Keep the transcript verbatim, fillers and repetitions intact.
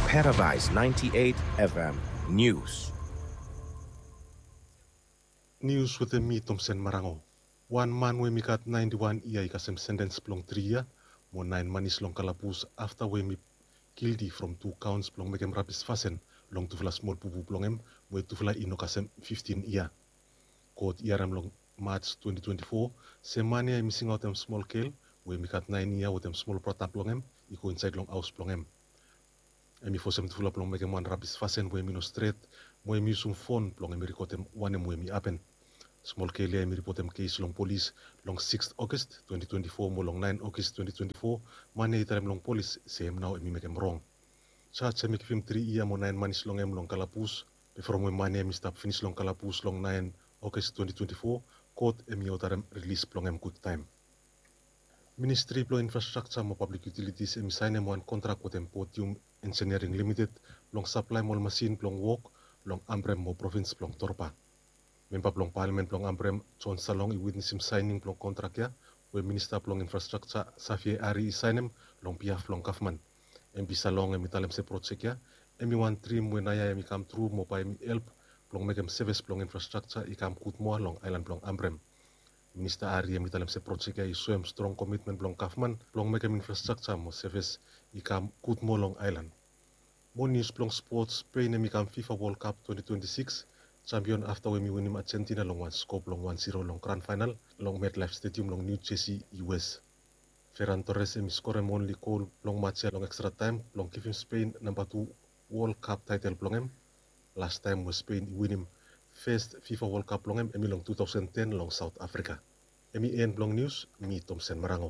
Paradise ninety-eight F M News. Nius wetem mi, Tomsen Marango. Wan man we mi gat naenti wan yia i kasem sentens blong tri yia mo naen manis long kalabus afta we mi gilti from tu kaons blong mekem rabis fasin long tufala smol bubu blong hem we tufala i no kasem fiftin yia. God i harem long Maj twenti twenti fo se man ya hemi singaotem smol gel we hemi gat naen yia wetem smol brata blong hem i go insaed long haos blong hem. Hemi fosem tufala blong mekem wan rabis fasin we hemi no stret mo hemi yusum fon blong hemi rekodem wanem we hemi hapen. Smol gel ya hemi ripotem kes long polis long sikst Ogos twenti twenti fo mo long naen Ogos twenti twenti fo man ya i talem long polis se hem nao hemi mekem rong. Jaj hemi givim tri yia mo naen manis long hem long kalabus. Be from we man ya hemi stap finis long kalabus long naen Ogos twenti twenti fo, God hemi odarem rilis blong hem gudtaem. Ministri blong Infrastrakja mo Pablik Yutilitis hemi saenem wan kontrak wetem Podium Engineering Limited blong saplaem ol masin blong wok long Ambrem mo provins blong Torba. Memba blong palamen blong Ambrem, John Salong, i witnesim saening blong kontrak ya we Minista blong Infrastrakja, Xavier Arry, i saenem long biaf blong gavman. Embi Salong hemi talem se projek ya hemi wan drim we naoia hemi kamtru mo bae hemi help blong mekem sevis blong infrastrakja i kam gud moa long aelan blong Ambrem. Minista Arry hemi talem se projek ya i soem strong komitmen blong gavman blong mekem infrastrakja mo sevis i kam gud moa long aelan. Mo nius blong spots, Spain hemi kam FIFA World Cup twenti twenti sikis jampion afta we hemi winim Argentina long wan sko blong wan ziro long gran faenal long MetLife Stadium long New Jersey, U S. Ferran Torres hemi skorem onli gol blong maj ya long ekstra taem blong givim Spain namba tu World Cup taetel blong hem. Lastaem we Spain i winim fes FIFA World Cup blong hem hemi long tu taosen ten long Saot Afrika. Hemi en blong nius, mi Tomsen Marango.